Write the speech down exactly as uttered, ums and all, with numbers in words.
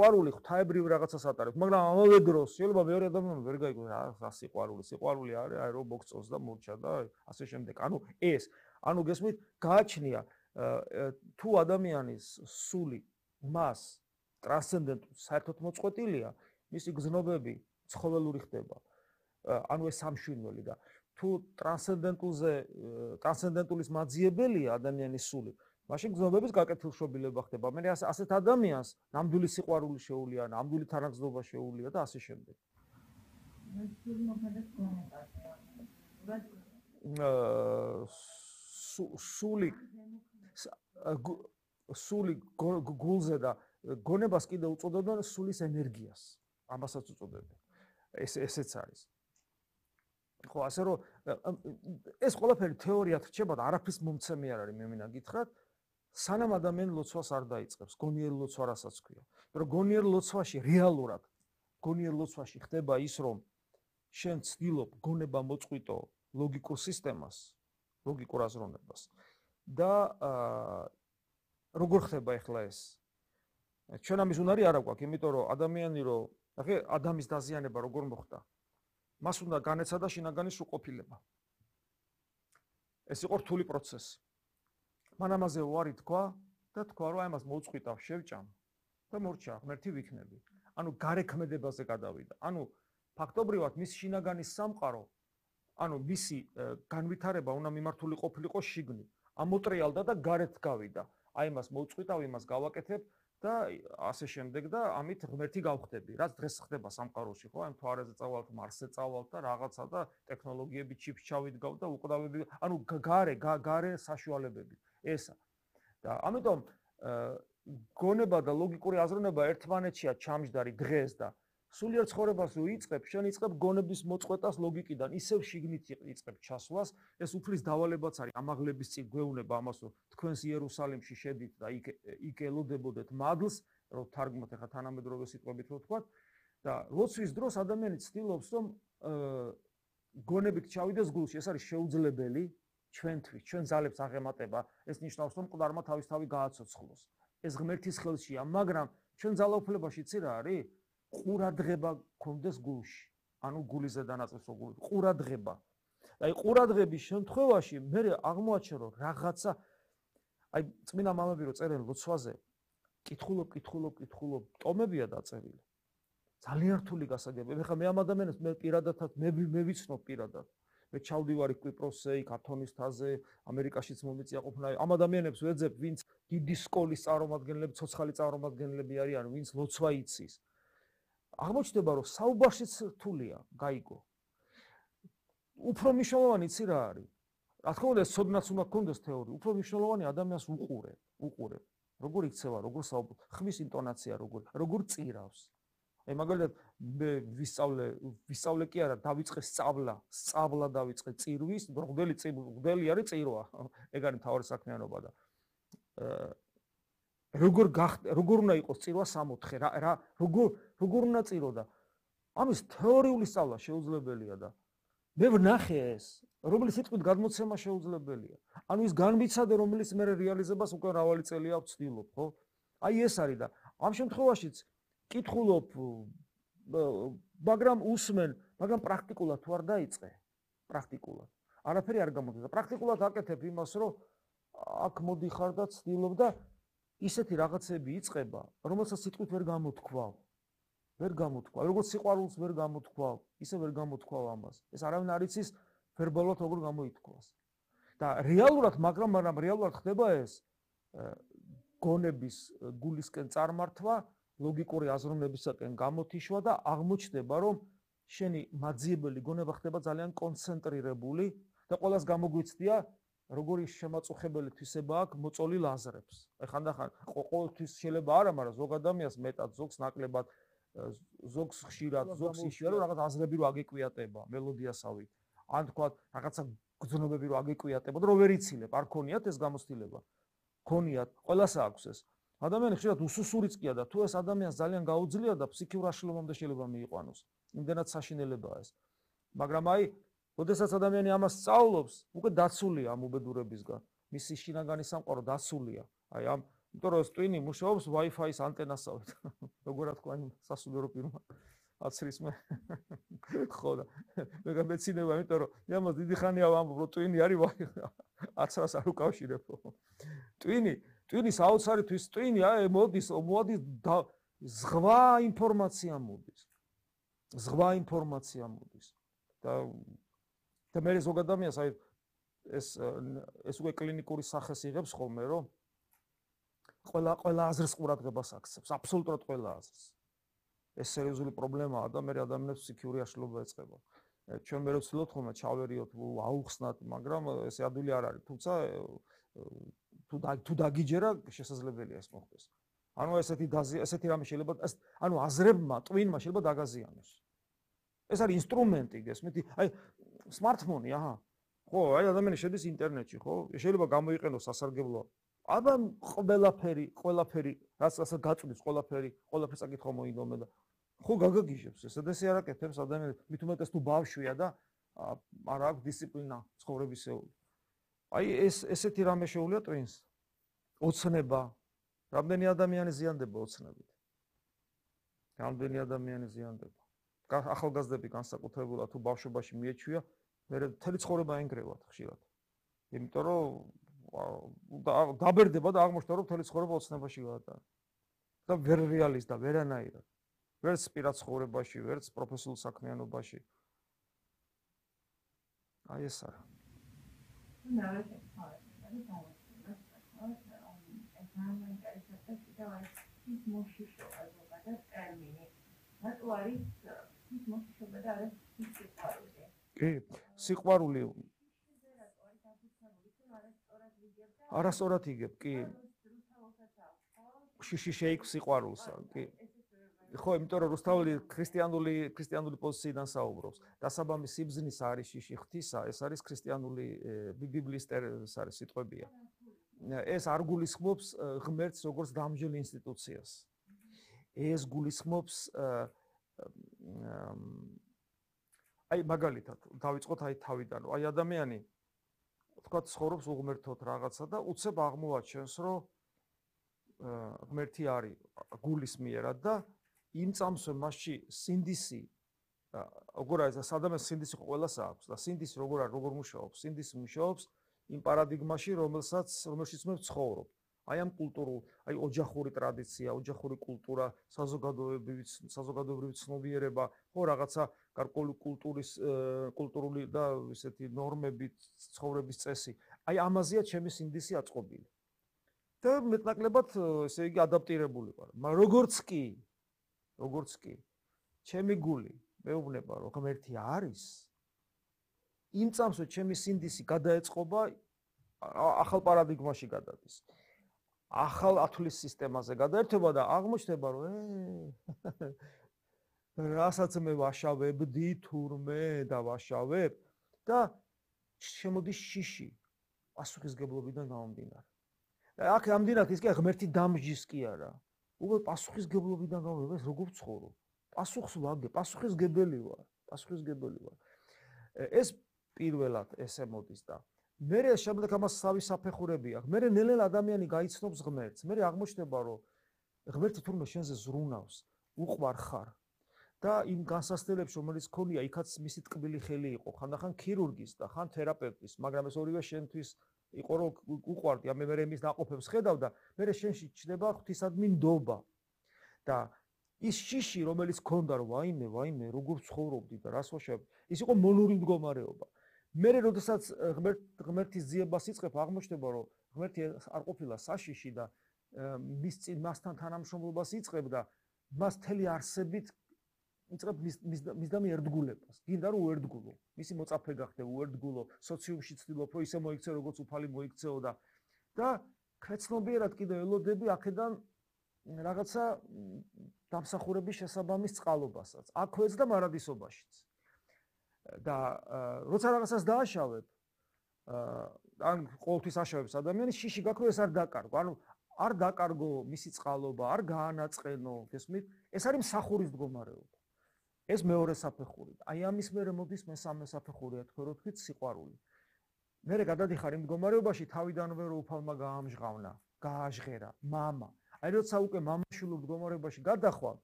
სიყვარული ღვთაებრივ რაღაცას ატარებს, მაგრამ ამავე დროს შეიძლება მეორე ადამიანი ვერ გაიგოს რა სიყვარული. სიყვარული არის აი რომ მოგწონს და მორჩა და ასე შემდეგ. ანუ ეს, ანუ გესმით, გააჩნია თუ ადამიანის სული მას ტრანსცენდენტულ საერთოდ მოწყვეტილია, მისი გზნობები ცხოველური ხდება. ანუ ეს სამშვინველი და თუ ტრანსცენდენტულზე ტრანსცენდენტულის მაძიებელია ადამიანის სული, მაშინ გზნობების გაკეთილშობილება ხდება. მე ასეთ ადამიანს ნამდვილი სიყვარული შეუულია, ნამდვილი თანაგზნობა შეუულია და ასე შემდეგ. სული სული გულზე და გონებას კიდე უწოდებენ სულის ენერგიას. ამასაც უწოდებენ. ეს ესეც არის. ხო, ასე რომ ეს ყველაფერი თეორიად რჩება და არაფრის მომცემი არ არის, მე მინდა გითხრათ, სანამ ადამიანი ლოცვას არ დაიწყებს, გონიერ ლოცვა რასაც ქვია. მაგრამ გონიერ ლოცვაში რეალურად, გონიერ ლოცვაში ხდება ის, რომ შენ ცდილობ გონება მოწყვიტო ლოგიკურ სისტემას, ლოგიკურ აზროვნებას და როგორ ხდება ახლა ეს? ჩვენ ამის უნარი არ აქვს, იმიტომ რომ ადამიანი რო, ახლა ადამიანის დაზიანება როგორ მოხდა? მას უნდა განეცადა შინაგანის უყოფილება. ეს იყო რთული პროცესი. მან ამაზე უარი თქვა და თქვა, რომ აი მას მოუწყვიტავ, შევჭამ და მორჩა, ღმერთი ვიქნები. ანუ გარექმედებაზე გადავიდა. ანუ ფაქტობრივად მის შინაგანის სამყარო, ანუ მისი განვითარება უნდა მიმართული ყოფილიყო შიგნით. ამოტრიალდა და გარეთ გავიდა. აი მას მოუწყვიტავ, იმას გავაკეთებ და ასე შემდეგ და ამით ღმერთი გავხდები. რაც დღეს ხდება სამყაროში, ხო? აი მთვარეზე წავალთ, მარსზე წავალთ და რაღაცა და ტექნოლოგიები ჩიპს ჩავიდგავ და უკვდავები, ანუ გარე, გარე საშუალებები. ესა. და ამიტომ გონება და ლოგიკური აზროვნება ერთმანეთშია ჩამჯდარი დღეს და სულიერ ცხოვრებას რო იწყებ, შენ იწყებ გონების მოწყვეტას ლოგიკიდან, ისევ შიგნით იწყებ ჩასვლას, ეს უფლის დავალებაც არის. ამაღლების წინ გვეუბნება ამას, რომ თქვენს იერუსალიმში შედით და იქ იქ ელოდებოდეთ მადლს, რომ თარგმნოთ ახლა თანამედროვე სიტყვებით რო ვთქვათ, და ლოცვის დროს ადამიანი ცდილობს, რომ გონებით ჩავიდეს გულში, ეს არის შეუძლებელი ჩვენთვის, ჩვენ ძალებს აღემატება, ეს ნიშნავს, რომ მკვდარმა თავისთავად გააცოცხლოს. ეს ღმერთის ხელშია, მაგრამ ჩვენ ძალაუფლებაში ცი რა არის? ყურადღება გქონდეს გულში. ანუ გულის ზედანაწყის გული, ყურადღება. აი ყურადღების შემთხვევაში მე აღმოაჩენ, რომ რაღაცა აი წმინდა მამები რო წერენ ლოცვაზე, კითხულობ, კითხულობ, კითხულობ, ტომებია დაწერილი. ძალიან რთული გასაგებია. ეხლა მე ამ ადამიანებს მე პირადადაც მე მე ვიცნობ პირადად. მე ჩავდივარი კვიპროსზე, იქ ათონის თაზე, ამერიკაშიც მომიწია ყოფნა. ამ ადამიანებს ვეძებ, ვინც დიდი სკოლის წარმომადგენლები, ცოცხალი წარმომადგენლები არიან, ვინც ლოცვა იცის. აღმოჩნდება, რომ საუბარშიც რთულია, გაიგო. უფრო მნიშვნელოვანი იცი რა არის? რა თქმა უნდა, ცოდნაც უნდა გქონდეს თეორია, უფრო მნიშვნელოვანი ადამიანს უყურებ, უყურებ. როგორ იქცევა, როგორ საუბრობ, ხმის ინტონაცია როგორ, როგორ წირავს. აი მაგალითად მე ვისწავლე, ვისწავლე კი არა, დავიწყე სწავლა, სწავლა დავიწყე წირვის, მღვდელი მღვდელი არის წირვა. ეგ არის მთავარი საქმიანობა და როგორ როგორ უნდა იყოს წირვა სამოთხე, რა რა როგორ როგორ უნდა წიროდა? ამის თეორიული სწავლა შეუძლებელია და მე ვნახე ეს, რომლის სიტყვით გადმოცემა შეუძლებელია. ანუ ის განმიცადე, რომელიც მე რეალიზებას უკვე მრავალი წელია ვცდილობ, ხო? აი ეს არის და ამ შემთხვევაშიც კითხულობ, მაგრამ უსმენ, მაგრამ პრაქტიკულად თუ არ დაიწყე, პრაქტიკულად. არაფერი არ გამოდის და პრაქტიკულად აკეთებ იმას, რომ აქ მოდიხარ და ცდილობ და ისეთი რაღაცები იწყება, რომელსაც სიტყვით ვერ გამოთქვავ. ვერ გამოთქვავ. როგორც სიყვარულს ვერ გამოთქვავ, ისე ვერ გამოთქვავ ამას. ეს არავინ არ იცის ვერბალურად როგორ გამოითქვას. და რეალურად, მაგრამ მაგრამ რეალურად ხდება ეს გონების გულისკენ წარმართვა, ლოგიკური აზროვნებისაკენ გამოთიშვა და აღმოჩნდება, რომ შენი მაძიებელი გონება ხდება ძალიან კონცენტრირებული და ყველას გამოგვიცდია როგორი შემაწუხებელი თვისება აქვს მოწოლი ლაზრებს. აი ხანდახან ყოველთვის შეიძლება არა, მაგრამ ზოგ ადამიანს მეტად, ზოგს ნაკლებად, ზოგს ხშირად, ზოგს ისე რომ რაღაც აზრები რო აგეკვიატება მელოდიასავით. ან თქვა რაღაცა გრძნობები რო აგეკვიატება და რო ვერ იცილებ, არ ქონიათ ეს გამოცდილება. ქონიათ, ყველას აქვს ეს. ადამიანი ხშირად უსუსურიცკია და თუ ეს ადამიანს ძალიან გაუძლია და ფსიქიურ აშლილობამდე შეიძლება მიიყვანოს. იმდენად საშინელებაა ეს. მაგრამ აი როდესაც ადამიანი ამას სწავლობს, უკვე დაცულია ამ უბედურებისგან. მისი შინაგანი სამყარო დაცულია. აი ამ იმიტომ რომ ეს ტვინი მუშაობს Wi-Fi-ის ანტენასავით. როგორ რა თქვა იმ სასულიერო პირმა აცრის მე. ხო და მე გამეცინება, იმიტომ რომ იმას დიდი ხანია ვამბობ, რომ ტვინი არის აცრას არ უკავშირებ. ტვინი, ტვინის აუცარითვის ტვინი აი მოდის, მოდის ზღვა ინფორმაცია მოდის. ზღვა ინფორმაცია მოდის. და და მე ზოგადად ადამიანს აი ეს ეს უკვე კლინიკური სახეს იღებს ხოლმე, რომ ყველა ყველა აზრს ყურადღებას აქცევს, აბსოლუტურად ყველა აზრს. ეს სერიოზული პრობლემაა და მე ადამიანებს ფსიქიური აშლილობა ეწყება. ჩვენ მე ვცდილობთ ხოლმე ჩავერიოთ, აუხსნათ, მაგრამ ესე ადვილი არ არის, თუმცა თუ თუ დაგიჯერა, შესაძლებელია ეს მოხდეს. ანუ ესეთი ესეთი რამე შეიძლება, ანუ აზრებმა, ტვინმა შეიძლება დაგაზიანოს. ეს არის ინსტრუმენტი, გესმით? აი smartphone-ი, აჰა. ხო, აი ადამიანი შედის ინტერნეტში, ხო? შეიძლება გამოიყენოს სასარგებლო. აბა ყველაფერი, ყველაფერი, რაც ასე გაწვდის, ყველაფერი, ყველაფერს საკითხო მოინდომე და ხო გაგაგიჟებს, ესა და ესე არ აკეთებს ადამიანი, მით უმეტეს თუ ბავშვია და არ აქვს დისციპლინა ცხოვრებისეული. აი ეს ესეთი რამე შეუულია ტვინს. ოცნება. რამდენი ადამიანი ზიანდება ოცნებით? რამდენი ადამიანი ზიანდება? ახალგაზრდები განსაკუთრებულად თუ ბავშვობაში მიეჩვია, მე მთელი ცხოვრება ენგრევათ ხშირად. იმიტომ რომ დაბერდება და აღმოჩნდა რომ მთელი ცხოვრება ოცნებაში გაატარა. და ვერ რეალიზდა ვერანაირად. ვერც პირად ცხოვრებაში, ვერც პროფესიულ საქმიანობაში. აი ეს არა. კი, სიყვარული არასწორად იგებ, კი. შიში შეიქმს სიყვარულსა, კი. ხო, იმიტომ რომ რუსთაველი ქრისტიანული ქრისტიანული პოზიციიდან საუბრობს. დასაბამი სიბზნის არის შიში ღვთისა, ეს არის ქრისტიანული ბიბლიის ეს არის სიტყვებია. ეს არ გულისხმობს ღმერთს როგორც დამჯელ ინსტიტუციას. ეს გულისხმობს აი მაგალითად, დავიწყოთ აი თავიდან, აი ადამიანი თქვა ცხოვრობს უღმერთოდ რაღაცა და უცებ აღმოაჩენს, რომ ღმერთი არის გულის მიერად და იმ წამსვე მასში სინდისი როგორ არის ადამიანს სინდისი ყველას აქვს და სინდისი როგორ არის როგორ მუშაობს სინდისი მუშაობს იმ პარადიგმაში რომელსაც რომელშიც მე ვცხოვრობ აი ამ კულტურულ აი ოჯახური ტრადიცია ოჯახური კულტურა საზოგადოებრივი საზოგადოებრივი ცნობიერება ხო რაღაცა გარკვეული კულტურის კულტურული და ესეთი ნორმები ცხოვრების წესი აი ამაზეა ჩემი სინდისი აწყობილი და მეტნაკლებად ესე იგი ადაპტირებული ვარ მაგრამ როგორც კი როგორც კი ჩემი გული მეუბნება რომ ღმერთი არის იმ წამსვე ჩემი სინდისი გადაეწყობა ახალ პარადიგმაში გადადის ახალ ათვლის სისტემაზე გადაერთება და აღმოჩნდება რომ რასაც მე ვაშავებდი თურმე და ვაშავებ და შემოდის შიში პასუხისგებლობიდან გამომდინარე და აქ ამდენად ის კი ღმერთი დამჯის კი არა უბრალოდ პასუხისგებლობიდან გამომდინარე ეს როგორ ვცხოვრო პასუხს ვაგე პასუხისგებელი ვარ პასუხისგებელი ვარ ეს პირველად ესე მოდის და მერე შემდეგ ამას თავის საფეხურები აქვს მერე ნელ-ნელა ადამიანი გაიცნობს ღმერთს მერე აღმოჩნდება რომ ღმერთი თურმე შენზე ზრუნავს უყვარ ხარ და იმ განსასწრებებში რომელიც ქონია იქაც მისი ტკბილი ხელი იყო ხანდახან ქირურგის და ხან თერაპევტის მაგრამ ეს ორივე შენთვის იყო რომ უყვარდი ამ მერე იმის დაყოფებს ხედავ და მერე შენში ჩნდება ღვთისადმი ნდობა და ის შიში რომელიც ქონდა რომ ვაიმე ვაიმე როგორ ცხოვრობდი და რას ვაშავებ ის იყო მონური მდგომარეობა მერე როდესაც ღმერთ ღმერთის ძიებას იწყებ აღმოჩნდება რომ ღმერთი არ ყოფილა საშიში და მის წინ მასთან თანამშრომლობას იწყებ და მას თელი არსებით იწყებ მის მის და მე ერთგულებას გინდა რომ უერთგულო მისი მოწაფე გახდე უერთგულო სოციუმში ცდილობ რომ ისე მოიქცე როგორც უფალი მოიქცეო და და ქეცნობიერად კიდე ელოდები აქედან რაღაცა დამსახურების შესაბამის წყალობასაც აქვეც და მარადისობაშიც და როცა რაღაცას დააშავებ ან ყოველთვის აშავებს ადამიანის შიში გაქვე ეს არ დაკარგო ანუ არ დაკარგო მისი წყალობა არ გაანაწყენო გესმით ეს არის მსახურის მდგომარეობა ეს მეორე საფეხური აი ამის მერე მოდის მესამე საფეხური თქვენ რო თქვით სიყვარული მერე გადადიხარ იმ მდგომარეობაში თავიდანვე რო უფალმა გაამჟღავნა გააჟღერა, მამა. აი როცა უკვე მამაშვილ მდგომარეობაში გადახვალ,